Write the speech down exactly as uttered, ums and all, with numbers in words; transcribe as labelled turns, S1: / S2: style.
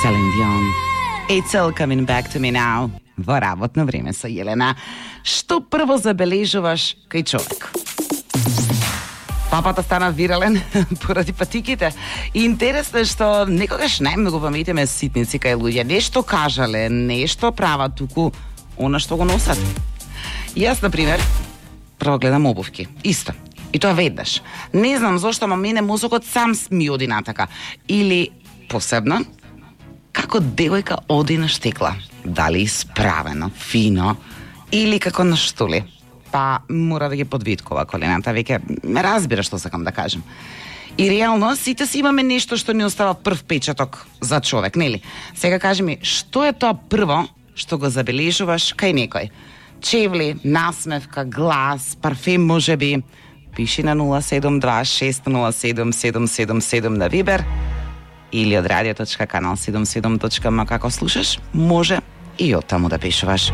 S1: Celine Dion. It's all coming back to me now. Во работно време со Јелена. Што прво забележуваш кај човек? Папата стана вирален поради патиките. И интересно е што некогаш најмногу паметиме ситници кај луѓе. Нешто кажале, нешто прават туку она што го носат. Јас, например, прво гледам обувки. Исто. И тоа веднаш. Не знам зошто, ама мене мозокот сам ми оди натака. Или, посебно, како девојка оди на штекла. Дали исправено, фино, или како на штули. Па мора да ги подвиткува колената, веќе ме разбира што сакам да кажем. И реално сите си имаме нешто што ни остава прв печаток за човек, нели? Сега кажи ми, што е тоа прво што го забележуваш кај некој? Чевли, насмевка, глас, парфем можеби. Пиши на нула седум два шест нула седум седум седум седум на Вибер или од радио точка канал седумдесет и седум точка ем како слушаш, може и од таму да пишуваш.